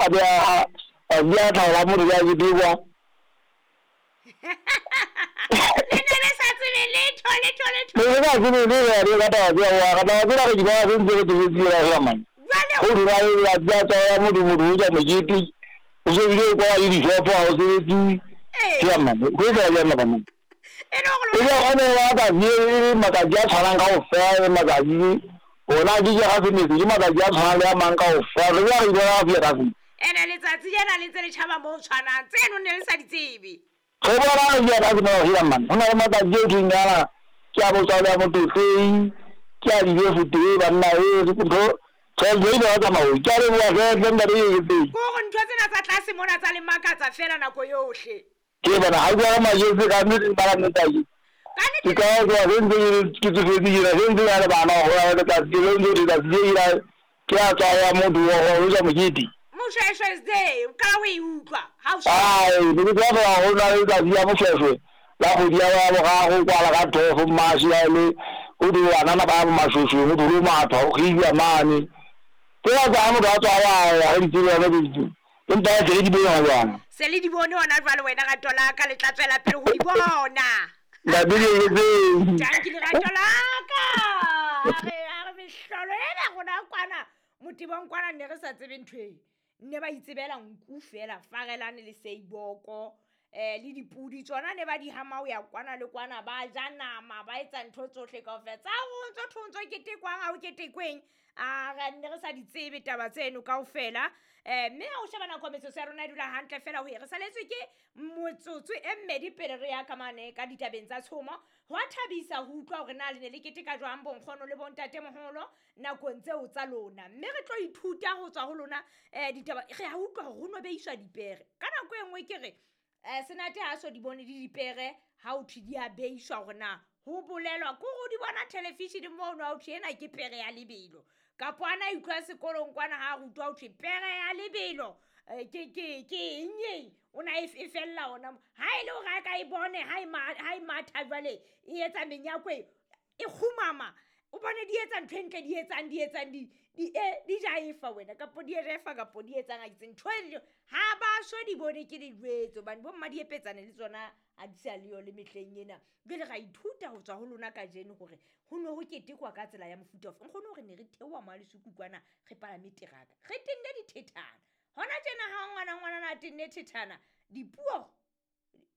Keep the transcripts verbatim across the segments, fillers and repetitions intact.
A be a a di a tlhaola motho ya ketekwa. Le ne le sa tsebe letho letho letho. Ne re sa tsebe le re ka taba tseo wa ka taba tsena re di bona se ntse re tsofetse ra hela man. Jwale Go dira le la tsa tsa motho motho o ja mokete. O se bile kwa le dishopo ha o sebetse. Ee. Ke man. Go etsa jang napa man? E le hore E lona le gone wa matsatsi e matsatsi a tshwanang kaofela le matsatsi ona ke ke ga semetse ke matsatsi a tshwanang le a mang kaofela re bja re bona ga fia ka se. Ene letsatsi lena le ntse le tjhaba mo ho tshwanang tseno ne le sa di tsebe. Re bona re fia ka se mo hela man. Ho na le matsatsi e thweng yana ke a botswa le a motlotleng ke a dibe fote banna e ntho tjhelete e ile ya tsamaya. Ke a leboha hle ntate e ke Ke hore ntho tsena tsa tlase mona tsa le makatsa fela nako yohle. Ke bona ha ke ba majetse ka nnete ba la nnete Ka ke nnete ka ke se ntse ke tsofetse ke se ntse ya le bana go ya letsatsi le ntse letsatsi le ila ke a tswa ya motho wa go ja mokete. Moshweshwe is there o qala ho e utlwa ha o Ai ne ke tswa go na le letsatsi ya moshweshwe la kgwedi ya ya boraro kwala ka twelve March ya le o di banana ba mashweshwe o di matha o giwa mane ke ba tsa motho a tswa ya ya di tsebe ya di empa ya tsere di bone jwana. Se le di bone hona jwale wena rato la ka le tla tswela pele ho di bona. Ntate ke etseng. Tanki lerato la ka. A re a re mehlolo ena rona kwana motebong kwana ne re sa tsebe ntho e. Ne ba itsebela nku fela farelane le seiboko eh le dipudi tsona ne ba di hama ho ya kwana le kwana ba ja nama ba etsa ntho tsohle kaofela tsa ho ntso thontso ketekwang ha o ketekweng a re ne re sa di tsebe taba tseno kaofela eh mme ha o sheba nako metsotso ya rona e dula hantle fela ho e re saletswe ke motsotso e mmedi pele re ya ka mane ka ditabeng tsa tshomo. Ho a thabisa ho utlwa hore na le ne le keteka jwang bonkgono le bontatemoholo nakong tseo tsa lona mme re tlo ithuta ho tswa ho lona eh ditaba re a utlwa hore ho no beiswa dipere ka nako e nngwe ke re eh senate ha so di bone di dipere ha o thwe di a beiswa hore na ho bolelwa ke hore o di bona television mono ha o thwe ena ke pere ya lebelo kapo ana a utlwa sekolong kwana ha a rutwa ho thwe pere ya lebelo eh, ke ke ke eng eng o na e e fella ona mo. Ha e le hore a ka e bone ha e ma- ha e matha jwale e etsa menyako e e kgumama o bone di etsa ntho e ntle di etsang di etsang di di e di jaefa wena kapo di refa kapo di etsang a ke tsebe ntho e ha ba so di bone ke le jwetse hobane bo mma di epetsane le tsona ha di sa leyo le mehleng ena. Jwale ra ithuta ho tswa ho lona kajeno hore ho ne ho ketekwa ka tsela ya mofuta ofe. Nkgono hore ne re theoha mo Lesuku kwana re palame teraka re tenne dithethana hona tjena ha ngwana ngwanana a tenne thethana dipuo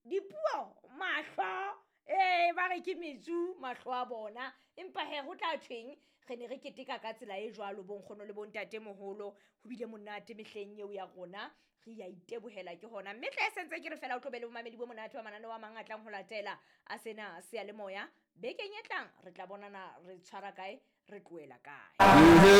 dipuo mahlo eh ba re ke metsu mahlo a bona empa he ho tla thweng re ne re keteka ka tsela e jwalo bonkgono le bontatemoholo ho bile monate mehleng eo ya rona re ya itebohela ke hona mme tla e sentse ke re fela o tlo be le bomamedi bo monate wa mananeo a mang a tlang ho latela a sena seyalemoya bekeng e tlang re tla bonana re tshwara kae re tlohela kae.